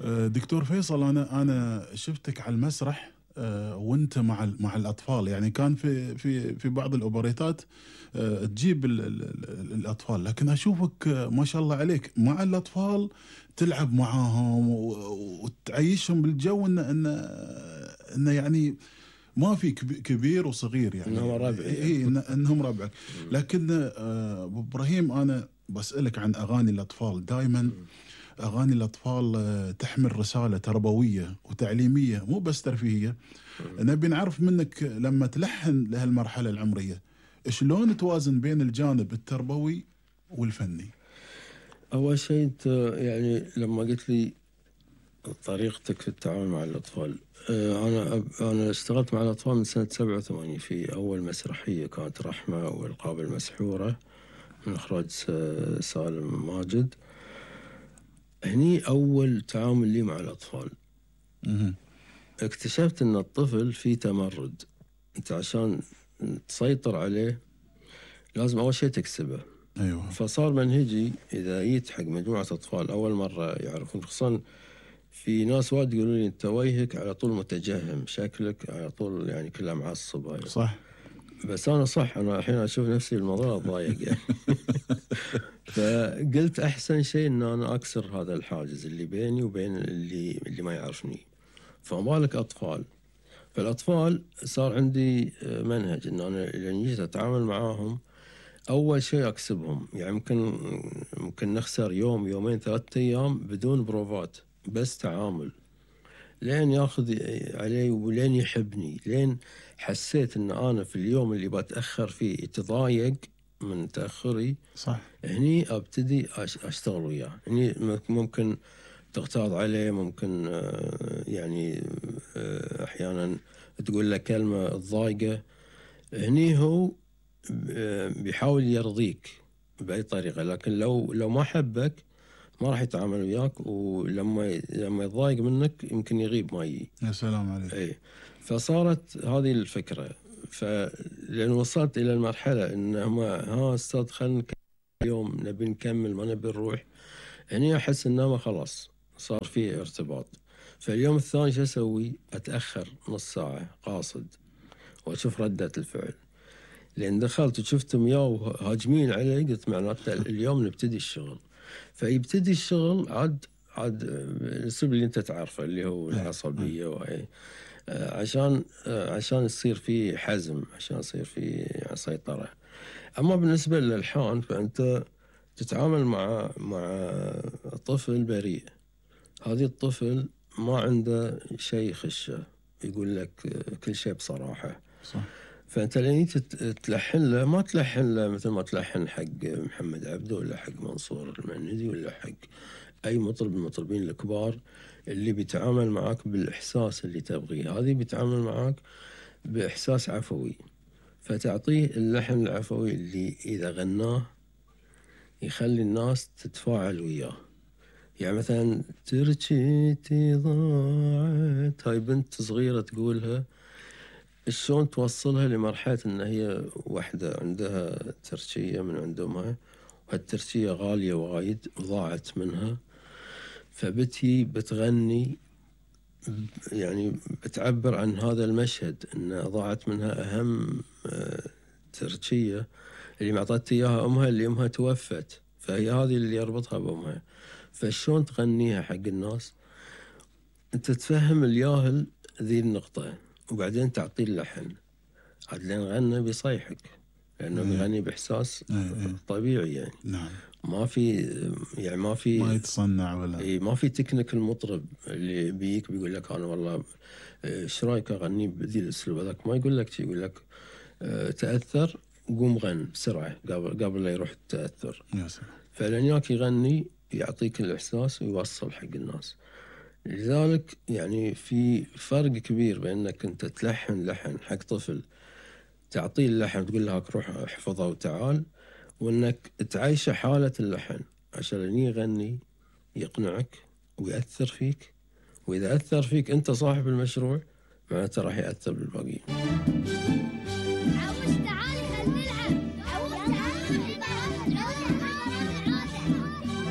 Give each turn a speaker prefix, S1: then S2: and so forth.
S1: دكتور فيصل، أنا شفتك على المسرح، وأنت مع الأطفال. يعني كان في بعض الأوبريتات تجيب الأطفال، لكن أشوفك ما شاء الله عليك مع الأطفال تلعب معاهم وتعيشهم بالجو، إنه يعني ما في كبير وصغير، يعني
S2: إنهم ربعي.
S1: إيه إنهم ربعك. لكن أبو إبراهيم، أنا بسألك عن أغاني الأطفال. دائما أغاني الأطفال تحمل رسالة تربوية وتعليمية، مو بس ترفيهية. نبي نعرف منك لما تلحن لهالمرحلة العمرية، شلون توازن بين الجانب التربوي والفني؟
S2: أول شيء أنت يعني لما قلت لي طريقتك في التعامل مع الأطفال، أنا اشتغلت مع الأطفال من سنة 87 في أول مسرحية كانت رحمة والقاب المسحورة من إخراج سالم ماجد. هني أول تعامل لي مع الأطفال. اكتشفت أن الطفل فيه تمرد، أنت عشان تسيطر عليه لازم أول شيء تكسبه.
S1: أيوة.
S2: فصار منهجي إذا جيت حق مجموعة أطفال أول مرة يعرفون، خصوصا في ناس وايد يقولون لي أنت وجهك على طول متجهم، شكلك على طول يعني كلها معصب. يعني
S1: صح.
S2: بس أنا صح، أنا الحين أشوف نفسي الموضوع ضايق يعني. فقلت أحسن شيء إن أنا أكسر هذا الحاجز اللي بيني وبين اللي ما يعرفني. فما بالك أطفال. فالأطفال صار عندي منهج إن أنا لما جيت أتعامل معاهم أول شيء أكسبهم. يعني ممكن نخسر يوم يومين 3 أيام بدون بروفات، بس تعامل لين ياخذ علي ولين يحبني. لين حسيت إن أنا في اليوم اللي بتأخر فيه يتضايق من تأخري،
S1: صح.
S2: هني أبتدي أشتغل وياه. هني ممكن تغتاظ عليه، ممكن يعني أحيانا تقول له كلمة تضايقه، هني هو بيحاول يرضيك بأي طريقة. لكن لو ما حبك ما راح يتعامل وياك، ولما يتضايق منك يمكن يغيب ما يجي.
S1: يا سلام عليك.
S2: اي. فصارت هذه الفكرة. فلأن وصلت إلى المرحلة إن ها أستاذ خلنا اليوم نبي نكمل ما نبي نروح، هني أحس إنه خلاص صار فيه ارتباط. فاليوم الثاني شو أسوي؟ أتأخر نص ساعة قاصد وأشوف ردة الفعل. لأن دخلت وشفتهم ياو هاجمين علي، قلت معناته اليوم نبتدي الشغل. فيبتدي الشغل عاد الأسلوب اللي أنت تعرفه اللي هو العصبية، وهي عشان يصير فيه حزم، عشان يصير فيه سيطرة. أما بالنسبة للألحان فأنت تتعامل مع طفل بريء. هذه الطفل ما عنده شيء يخشه، يقول لك كل شيء بصراحة.
S1: صح.
S2: فأنت لين تلحن له ما تلحن له مثل ما تلحن حق محمد عبده ولا حق منصور المندي ولا حق أي مطرب من المطربين الكبار اللي بيتعامل معاك بالإحساس اللي تبغيه. هذه بيتعامل معاك بإحساس عفوي، فتعطيه اللحن العفوي اللي إذا غناه يخلي الناس تتفاعل وياه. يعني مثلا ترجيتي ضاعت، هاي بنت صغيرة تقولها، شلون توصلها لمرحلة إن هي واحدة عندها ترشية من عند أمها، وهالترشية غالية وايد وضاعت منها، بتغني يعني بتعبر عن هذا المشهد إن ضاعت منها أهم ترشية اللي معطت إياها أمها، اللي أمها توفت، فهي هذه اللي يربطها بأمها. فشلون تغنيها حق الناس؟ أنت تفهم الياهل ذي النقطة وبعدين تعطيه اللحن. عاد لين غنى بيصيحك لأنه بيغني بإحساس طبيعي يعني.
S1: نعم.
S2: ما
S1: ما يتصنع ولا
S2: ما في تكنيك المطرب اللي بيك بيقول لك أنا والله إيش رأيك أغني بذي الأسلوب هذاك. ما يقول لك شيء، يقول لك تأثر قوم غن بسرعة قبل لا يروح التأثر. فلن ياك يغني يعطيك الإحساس ويوصل حق الناس. لذلك يعني في فرق كبير بأنك أنت تلحن لحن حق طفل، تعطيه اللحن تقول له روح احفظه وتعال، وأنك تعيشه حالة اللحن عشان يغني يقنعك ويأثر فيك. وإذا أثر فيك أنت صاحب المشروع معناته راح يأثر بالباقيين.